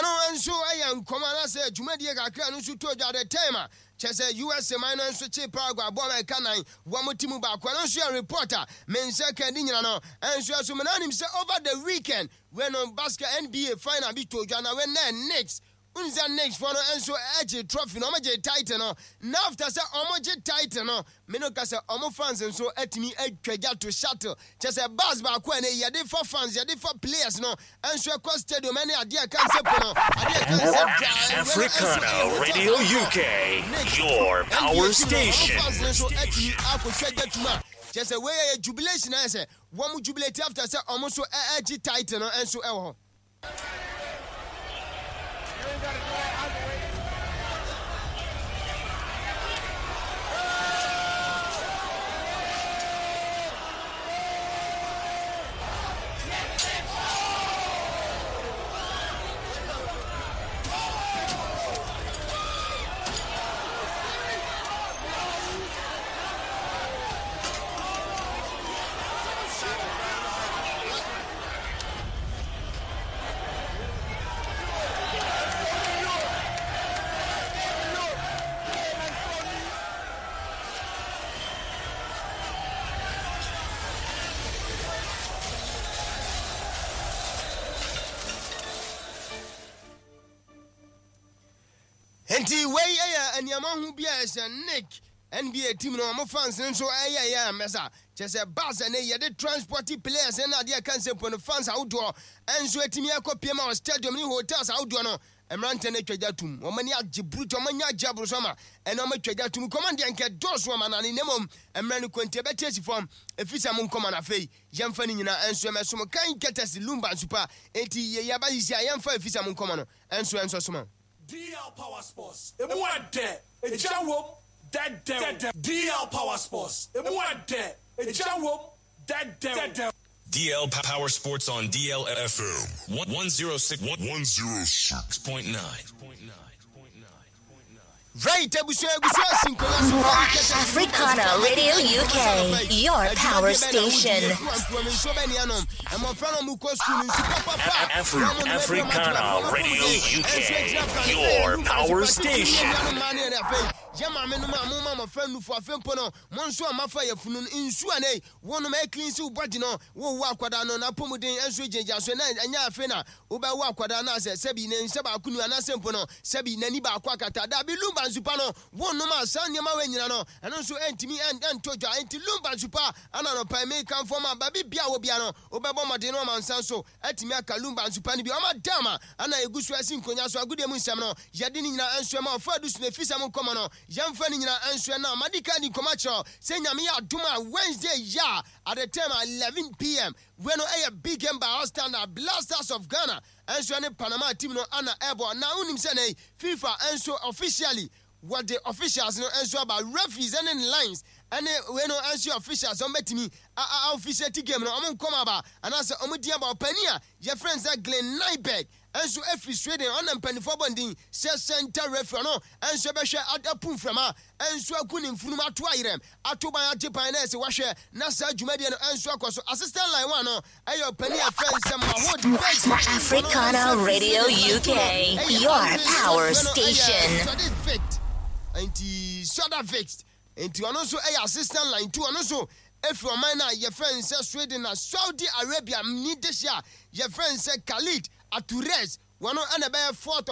ɛno nso yɛ nkɔmɔ anaasɛ dwumadie kakra no nso tɔ dwa the time a kyɛ sɛ USA man no nso kye Paraguay bɔɔl a ɛka nan wɔn ti mu baako. Ɛno nso yɛ report a me nsa ka di nyina no nso ɛso me nanim sɛ over the weekend wei no basket NBA final bi tɔ dwa na wei na Knicks Unza Knicks foɔ no nso gye trophy no, wɔn gye title no. Na after sɛ wɔn gye title no, me no ka sɛ wɔn fans nso atumi atwa gya to shuttle. Kyɛ sɛ bus baako a ɛnɛ yɛde fa fans, yɛde fa players no nso ɛkɔ stadium ɛne adeɛ a ɛka nsɛ po no, adeɛ a ɛka nsɛ dwa. Africana Radio UK, your power station. Wɔn fans no nso atumi akɔtwa gya tum a, kyɛ sɛ wei yɛ jubilation ayɛ sɛ wɔn jubilate after sɛ wɔn nso ɛgye title no nso ɛwɔ hɔ. Nti wei yɛ nneɛma ho bi a ɛsɛ Nick NBA team no wɔn fans no nso ɛyɛ yɛ amɛsa kyɛ sɛ bus ɛne yɛde transport players ne adeɛ ɛka nsɛmpo no fans ahodoɔ nso atumi akɔ pie ma wɔ stadium ne hotels ahodoɔ no mmeranteɛ no atwa gya tum wɔn ani agye burutu wɔn ani agye aboro so ama ɛna wɔn atwa gya tum kɔma deɛ nkɛ dɔɔso wɔn anane na mmom mmerɛ no kɔnti ɛbɛte asi fam ɛfiri sɛ mo nkɔma no afei yɛmfa ne nyinaa nso ɛmɛsom kan kɛtɛsi lumba nso pa enti yɛyɛ aba sisi a yɛmfa ɛfiri sɛ mo nkɔma no nso ɛnsɔ soma. DL Power Sports, emu ɛdɛ, egya wom, dɛdɛw. DL Power Sports, emu ɛdɛ, egya wom, dɛdɛw. DL Power Sports on DL FM 106 106.9. Right, abusua abusua si nkonnwa so. Africana Radio UK, your power station. Africana Radio UK, your power station. Yɛ maame no ma mo ma mmɔfra nufo afei mpo no mo nso a mafa yafunu no nsu a nei wonom ɛclean si wo body no wowo akwadaa no n'apɔmuden nso gyinagyina so na ɛnyɛ afei na wobɛwo akwadaa no asɛ sɛbi ne nsa baako nu anaasɛ mpo no sɛbi n'ani baako akata. Dabi, lumba nsupa no wonom a saa nneɛma wei nyina no ɛno nso ɛntumi ɛntɔ dwa. Enti lumba nsupa ana anɔpa yi mekamfo ama baabi bia wɔ bia no wobɛbɔ mmɔden no ɔmansa nso atumi aka lumba nsupa no bi. Ɔma dam a ana ɛgu so asi nkonya so agodie mu nsɛm no yɛde ne nyina nso ɛma ɔfa adu so na ɛfiri sɛ mo nkɔmmɔ no yɛmfa ne nyina nso ɛna madi ka di nkɔmmɔ akyerɛ sɛ Nyame yɛ adom a Wednesday yɛ a at the time 11 p.m. wei no ɛyɛ big game by all standard. Blasters of Ghana ɛnso ɛne Panama team no ana ɛbɔ. Na wonim sɛ nɛ FIFA ɛnso officially wɔde officials no ɛnso aba, referees ɛne ne lines ɛne wei no ɛnso yɛ officials. Wɔn bɛtumi a officiate game no, wɔn nkɔm aba anaasɛ wɔn di aba. Ɔpanin a yɛfrɛ no sɛ Glenn Nyberg ɛnso efiri Sweden, ɔna mpanimfoɔ bɔnden sɛ center referee no ɛnso ɛbɛhwɛ apu mframa ɛnso agu ne mfunum ato ayerɛm ato ban agye ban na ɛsɛ wahwɛ na saa dwumadie no ɛnso akɔ so. Assistant line one no ɛyɛ ɔpanin a yɛfrɛ no sɛ Mahod Beji. Africana Radio UK, your power station. Nti Soda Fixed nti ɔno nso ɛyɛ assistant line two, ɔno nso efiri ɔman no a yɛfrɛ no sɛ Sweden. Na Saudi Arabia ni dehye a yɛfrɛ no sɛ Khalid Aturez, wɔn ɛna ɛbɛyɛ fourth.